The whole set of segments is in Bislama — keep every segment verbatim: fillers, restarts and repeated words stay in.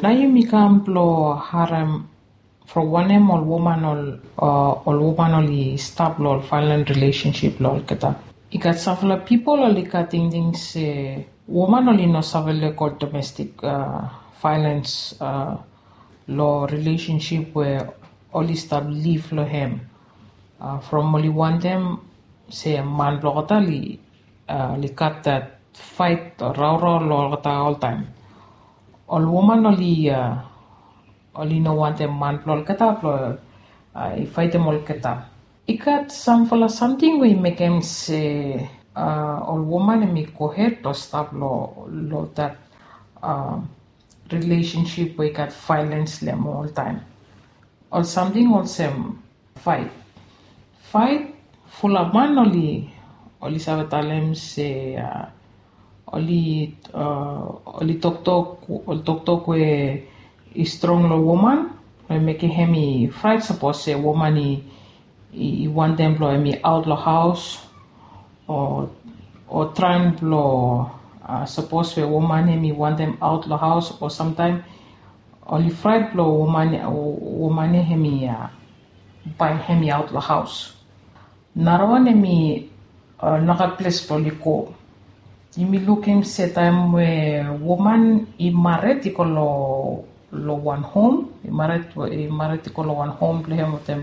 Nao yumi kam blong harem from wanem ol woman ol ol woman oli stap long ol violent relationship long olgeta. I gat samfala pipol oli gat tingting se woman oli no save lego domestik violens long relationship we oli stap liv long hem. From oli wantem se man blong olgeta oli gat dat fait o raorao long olgeta oltaem. Ol woman oli oli no wantem man blong olgeta blong i faetem olgeta. I gat samfala samting we i mekem se ol woman hem i gohed blong stap long dat relationship we i gat violens long hem oltaem. Ol samting olsem fait. Fait, fulap man oli oli save talem se oli oli toktok oli toktok we i strong long woman we mekem hem i fraet sapos se woman i i wantem blong hem i aot long haos o o traem blong sapos we woman hem i wantem aot long haos o samtaem oli fraet blong woman woman ya hem i bae hem i aot long haos. Narawan hem i no gat ples blong oli go. Yumi lukim se taem we woman i mared i go long long wan hom i mared i mared i go long wan hom blong hem wetem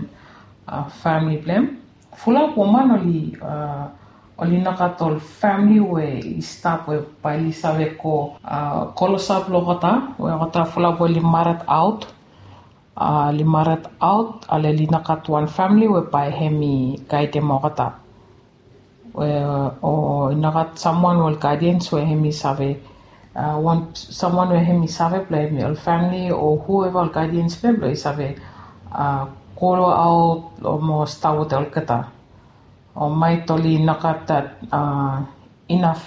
famili blong hem. Fulap woman oli oli no gat ol famili we i stap we bae oli save go klosap long olgeta we olgeta fulap we oli mared aot. Oli mared aot ale oli no gat wan famili we bae hem i gaedem olgeta. O i no gat samwan we ol gadians we hem i save wan samwan we hem i save blong hem i ol famili o hueva ol gadians blong hem blong i save go aot o mo stap wetem olgeta. O maet oli no gat dat inaf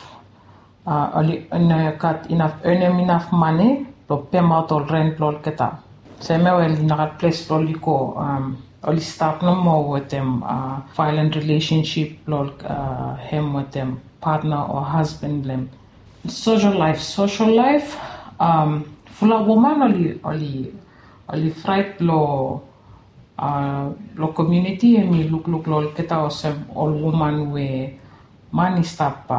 oli no gat inaf enem inaf mane blong pemaot ol ren blong olgeta. Semia we oli no gat ples blong oli go oli stap nomo wetem violent relationship blong hem wetem patna o hasban blong hem. Sosol laef sosol laef. Fula woman oli oli oli fraet blong long komiuniti hem i lukluk long olgeta olsem ol woman we man i stap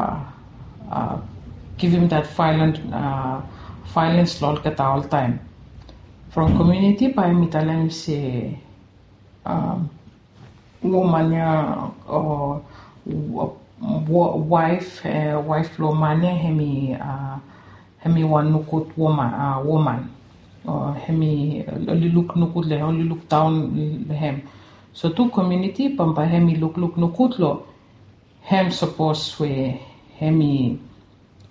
givim dat vaelens long olgeta oltaem. From komiuniti bae hem i talem se woman ya o waef waef blong man ya hem i hem i wan nogud woman. Hem i oli luk nogud long hem oli luk daon long hem. So tu komiuniti bambae hem i lukluk nogud long hem sapos we hem i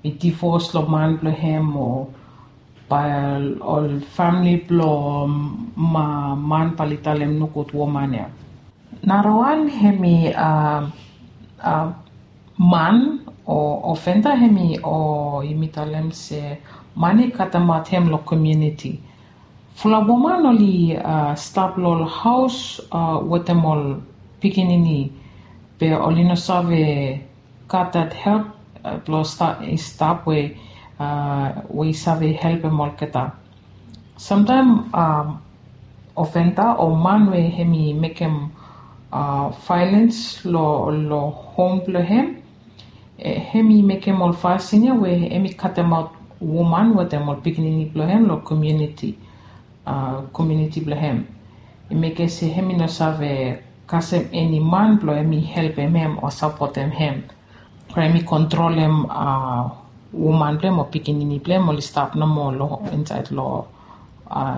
i divos long man blong hem o bae ol famili blong man bae oli talem nogud woman ya. Narawan hem i man o ofenda hem i o yumi talem se man i katemaot hem long komiuniti. Fula woman oli stap long ol haos wetem ol pikinini be oli no save gat dat help blong i stap we we i save helpem olgeta. Samtaem ofenda o man we hem i mekem vaelens long hom blong hem hem i mekem ol fasin ya we hem i katemaot woman wetem ol pikinini blong hem long komiuniti. Komiuniti blong hem i mekem se hem i no save kasem eni man blong hem i helpem hem o sapotem hem. Bai hem i kontrolem woman blong hem o pikinini blong hem oli stap nomo long insaed long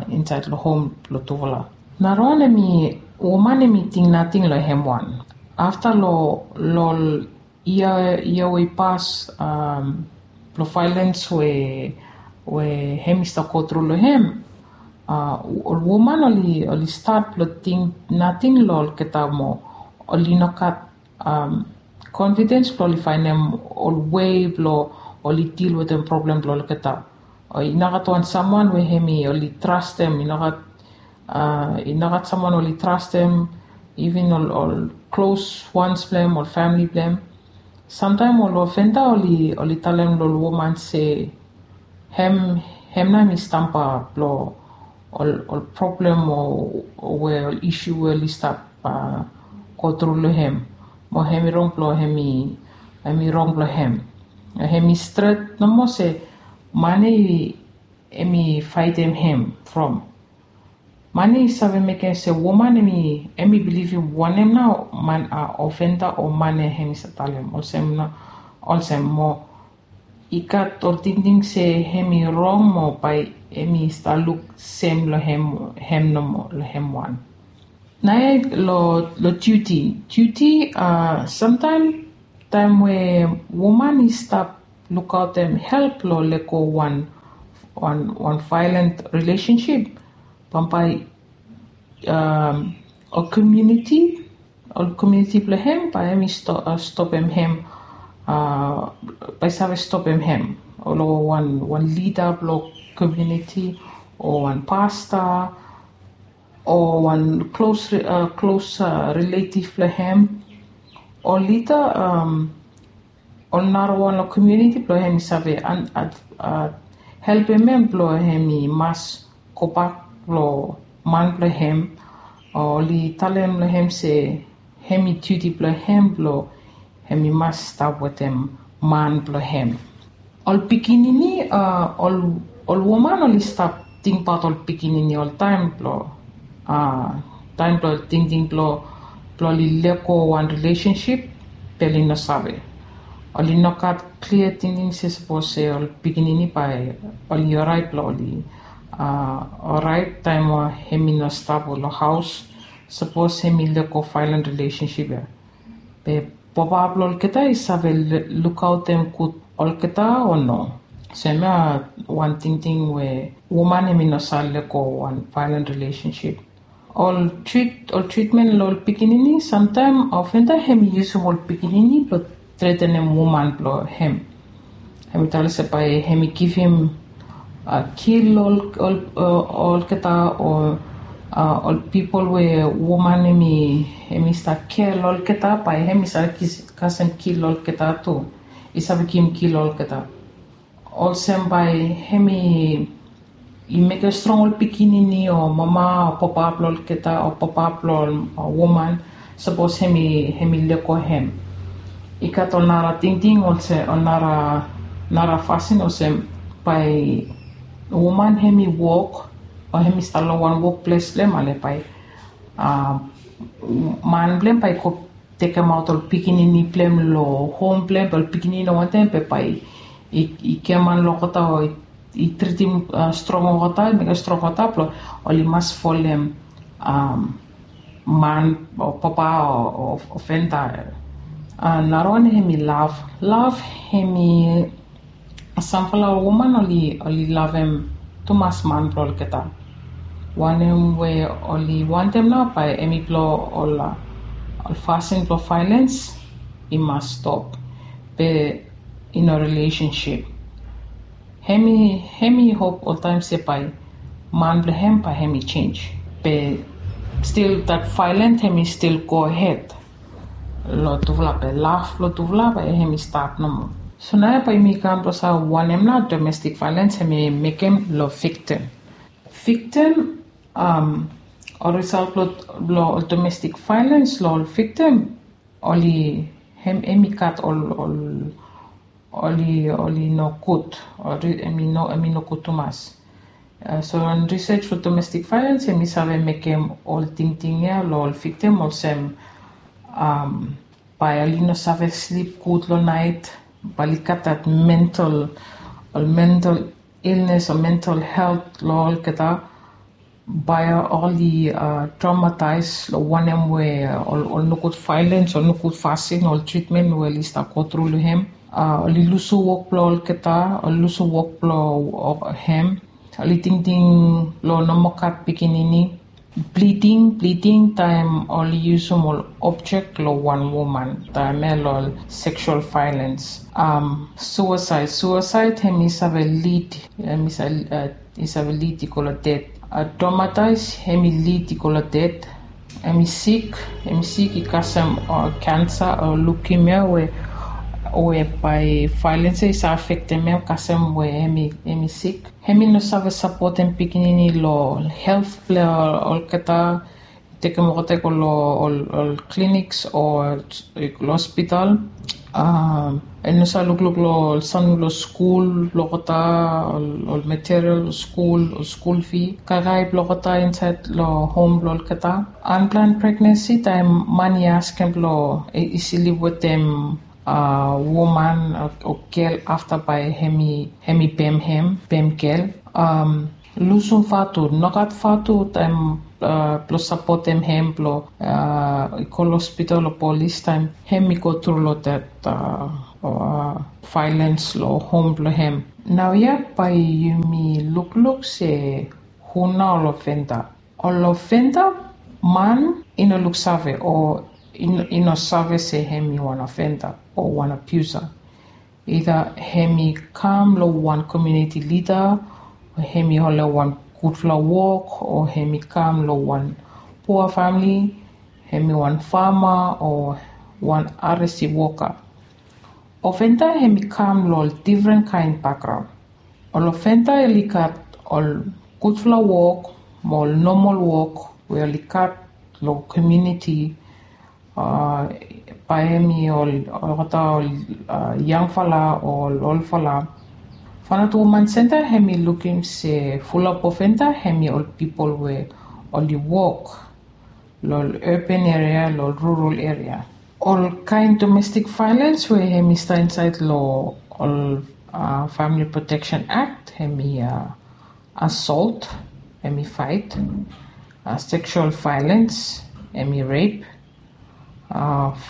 insaed long hom blong tufala. Narawan hem i woman hem i ting nating long hem wan. Afta long long ol yia yia we i pas blong vaelens we we hem i stap gotru long hem. Ol woman oli oli stat blong ting nating long olgeta moa. Oli no gat konfidens blong oli faenem ol wei blong oli dil wetem problem blong olgeta. O i no gat wan samwan we hem i oli trastem i no gat i no gat samwan oli trastem iven ol ol klos wans blong hem ol famili blong hem. Samtaem ol ofenda oli oli talem long ol woman se hem Hem nao hem i stamba blong ol problem o we ol isu we oli stap go tru long hem, mo hem i rong blong hem i hem i rong blong hem. Hem i stret nomo se man ya hem i faetem hem from man ya i save mekem se woman hem i bilivim wanem nao man a ofenda o man ya hem i save talem olsem nao olsem mo i gat ol tingting se hem i rong mo bae hem i stap luk sem long hem nomo long hem wan. Naoia long diuti diuti a samtaem taem we woman i stap lukaotem help long lego wan wan vaelan rilesensip bambae ol komiuniti ol komiuniti blong hem bae hem i stopem hem bae i save stopem hem long wan lida blong komiuniti o wan pasta o wan klos klos riletiv blong hem o lida ol narawan long komiuniti blong hem i save helpem hem blong hem i mas gobak long man blong hem o oli talem long hem se hem i diuti blong hem blong hem i mas stap wetem man blong hem. Ol pikinini a ol woman oli stap tingbaot ol pikinini oltaem blong a taem blong tingting blong blong oli lego wan rilesensip be oli no save oli no gat klia tingting se sapos se ol pikinini bae oli oraet blong oli a oraet taem we hem i no stap long haos sapos hem i lego vaelan rilesensip ya be papa blong olgeta i save lukaotem gud olgeta o no? So hemia wan tingting we woman hem i no save lego wan vaelan rilesensip. Ol trit ol tritmen long ol pikinini samtaem ofenda hem i yusum ol pikinini blong tretenem woman blong hem. Hem i talem se bae hem i givim kil ol olgeta o ol pipol we woman hem i hem i stap kea long olgeta bae hem i save kasem kil long olgeta tu. I save givim kil long olgeta olsem bae hem i i mekem strong ol pikinini o mama o papa blong olgeta o papa blong ol woman sapos hem i hem i lego hem. I gat ol nara tingting olsem ol nara nara fasin olsem bae woman hem i wok o hem i stap long wan wokples blong hem ale bae a man blong hem bae i go tekemaot ol pikinini blong hem long hom blong hem be ol pikinini no wantem be bae i giaman long olgeta o i tritim strong olgeta i mekem strong olgeta blong oli mas folem man o papa o ofenda. Narawan hem i lav lav hem i samfala woman oli oli lavem tumas man blong olgeta wanem we oli wantem nao bae hem i blong ol ol fasin blong vaelens i mas stop be i no rilesensip. Hem i hem i hop oltaem se bae man blong hem bae hem i jenis be stil dat vaelens hem i stil gohed long tufala be laf long tufala bae hem i stap nomo. So naoia bae yumi kam blong save wanem nao domestik vaelens hem i mekem long viktim. Viktim ol risal blong ol domestik vaelens long ol viktim oli hem hem i gat ol ol oli oli nogud. Oli hem i no hem i nogud tumas. So long risej blong domestik vaelens hem i save mekem ol tingting ya long ol viktim olsem bae oli no save slip gud long naet bae oli gat dat mental ol mental ilnes o mental helt long olgeta. Bae oli traumataes long wanem we ol nogud vaelens ol nogud fasin ol tritmen we oli stap gotru long hem. Oli lusim wok blong olgeta oli lusim wok blong hem. Oli tingting long nomo gat pikinini. Bliding bliding taem oli yusim ol objek long wan woman taem ya long ol seksual vaelens. Suasaed suasaed hem i save lid hem i save lid i go long ded. Traumataes hem i lid i go long ded. Hem i sik hem i sik i kasem kensa o lukimia we we bae vaelens ya i save afektem hem kasem we hem i sik. Hem i no save sapotem pikinini long health blong olgeta, tekem olgeta i go long ol clinics o long hospital. Hem i no save lukluk long ol samting blong skul blong olgeta, ol material blong skul, ol skul fee, kaikai blong olgeta insaed long hom blong olgeta. Unplanned pregnancy taem man i askem blong i siliv wetem woman o gel afta bae hem i pem hem, pem gel. Lusum vatu, nogat vatu taem blong sapotem hem blong i go long hospital o polis taem hem i go tru long that vaelens long hom blong hem. Naoia bae yumi lukluk se hu nao ol ofenda. Ol ofenda man i no luksave o i no save se hem i wan ofenda o wan abusa. Ida hem i kam long wan komuniti lida, o hem i holem wan gudfala wok, o hem i kam long wan pua famili, hem i wan fama o wan aresi woka. Ofenda hem i kam long ol difren kaen bakgraon. Ol ofenda oli gat ol gudfala wok mo ol nomol wok we oli gat long komuniti, bae hem i ol olgeta ol yangfala o ol olfala. From that woman center hem i lukim se fulap ofenda hem i ol pipol we oli wok long ol urban area, long ol rural area. Ol kaen domestik vaelens we hem i stap insaed long ol Family Protection Act hem i assault, hem i fight, sexual violence, hem i rape,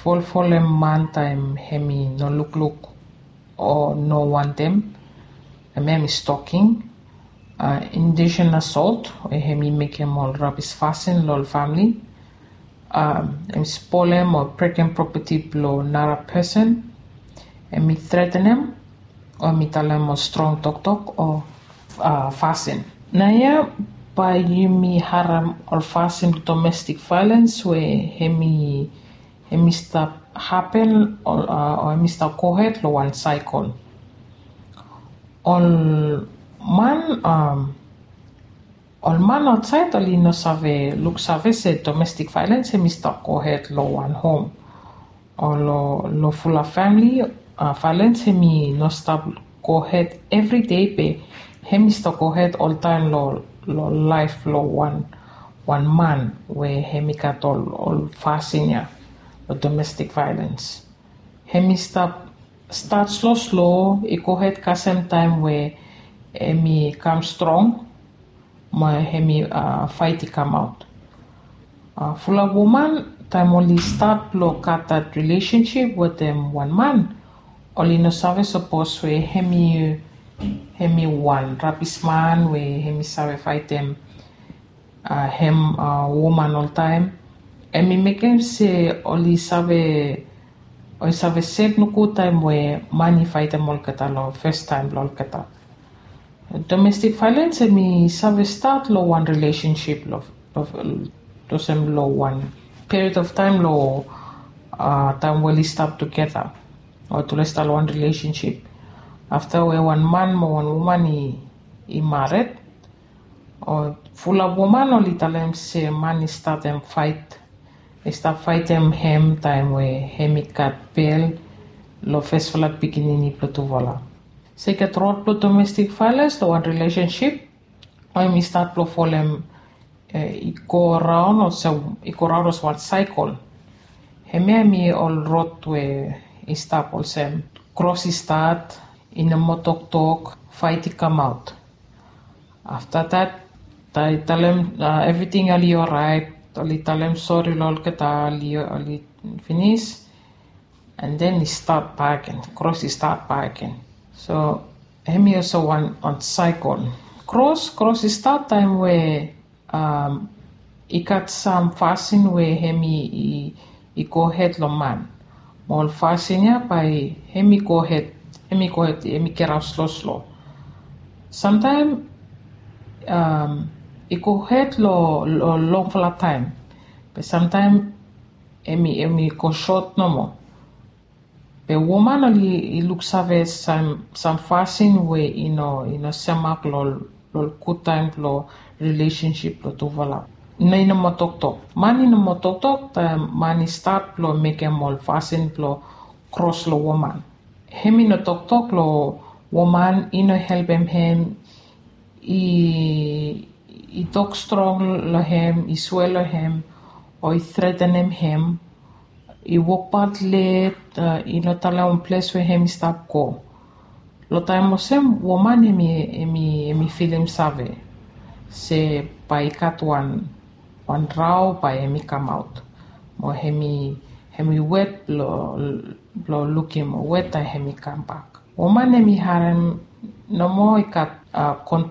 folfolem man taem hem i no lukluk o no wantem, hem i stalking, indecent assault we hem i mekem ol rabis fasin long ol famili, hem i spolem o brekem properti blong nara person, hem i tretenem, o hem i talem ol strong toktok o fasin. Naoia bae yumi harem ol fasin domestik vaelens we hem i stap hapen o hem i stap gohed long wan saekol. Ol man, ol man aotsaed oli no save luksave se domestik vaelens hem i stap gohed long wan hom o long fulap famili. Vaelens hem i no stap gohed evri dei be hem i stap gohed oltaem long laef blong wan man we hem i gat ol fasin ya long domestik vaelens. Hem i stap stat sloslo i gohed kasem taem we hem i kam strong mo hem i faet i kamaot. Fulap woman taem oli stat blong gat that rilesensip wetem wan man, oli no save sapos we hem i wan rabis man we hem i save faetem hem woman oltaem. Hem i mekem se oli save oli save sed nogut taem we man i faetem olgeta long fastaem blong olgeta. Domestik vaelens hem i save stat long wan rilesensip long olsem long wan period of taem long taem we oli stap tugeta o tule stap long wan rilesensip. Afta we wan man mo wan woman i mared, o fulap woman oli talem se man i statem faet, i stap faetem hem taem we hem i gat bel long fesfala pikinini blong tufala. So i gat rod blong domestik vaelens long wan rilesensip o hem i stat blong folem i go raon olsem i go raon olsem wan saekol. Hemia hem i ol rod we i stap olsem kros i stat, i no moa toktok, faet i kamaot. Afta dat, i talem evriting oli oraet, oli talem sori long olgeta, oli finis, and then i stat bakegen, kros i stat bakegen. So hem i olsem wan saekol. Kros, kros i stat taem we i gat sam fasin we hem i gohed long man. Mo ol fasin ya bae hem i gohed, hem i gohed, hem i geraot sloslo. Samtaem i gohed long longfala taem, be samtaem hem i go sot nomo. Be woman oli i luksave sam sam fasin we i no i no semak lo lo gudtaem blo rilesensip blo tufala. No i no moa toktok. Man i no moa toktok taem man i stat blo mekem ol fasin blo kros lo woman. Hem i no toktok lo woman i no helpem hem i i tok strong lo hem i swe lo hem o i tretenem hem i wokbaot let i no talem wan ples we hem i stap go. Lo taem olsem woman hem i hem i hem i filim save se bae i gat wan wan rao bae hem i kamaot mo hem i hem i wet blo blo lukim weta hem i kambak. Woman hem i harem nomo i gat a kon